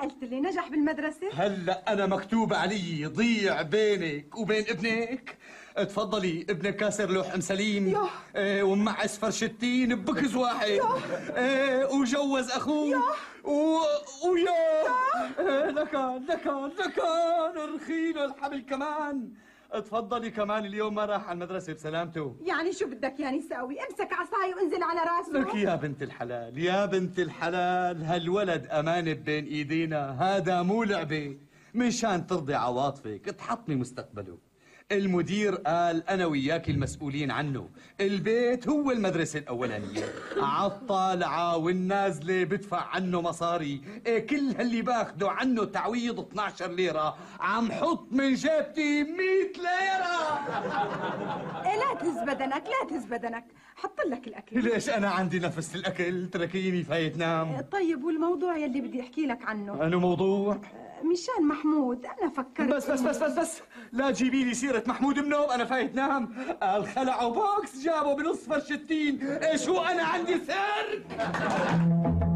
قلت لي نجح بالمدرسة؟ هلا أنا مكتوب علي ضيع بينك وبين ابنك. تفضلي، ابنك كاسر لوح سليم ومعس فرشتين ببكز واحد وجوز أخوه ويا لكان رخيله الحبل كمان. تفضلي كمان اليوم ما راح على المدرسة بسلامته. يعني شو بدك يعني ساوي؟ امسك عصاي وانزل على راسه. لك يا بنت الحلال، يا بنت الحلال، هالولد أمانة بين إيدينا، هذا مو لعبة. مشان ترضي عواطفك تحطمي مستقبله. المدير قال أنا وياك المسؤولين عنه، البيت هو المدرسة الأولانية، عالطالعة والنازلة بدفع عنه مصاري، كل هاللي باخده عنه تعويض 12 ليرة، عم حط من جيبتي 100 ليرة. لا تهز بدنك، لا تهز بدنك، حط لك الأكل. ليش أنا عندي نفس الأكل؟ تركيني فايت نام. طيب والموضوع يلي بدي أحكي لك عنه؟ أنا موضوع؟ مشان محمود أنا فكرت. بس لا تجيبي لي سيرة محمود منوم، أنا فايت نام. الخلعوا بوكس جابوا بنص فرشتين، إيش هو أنا عندي سر؟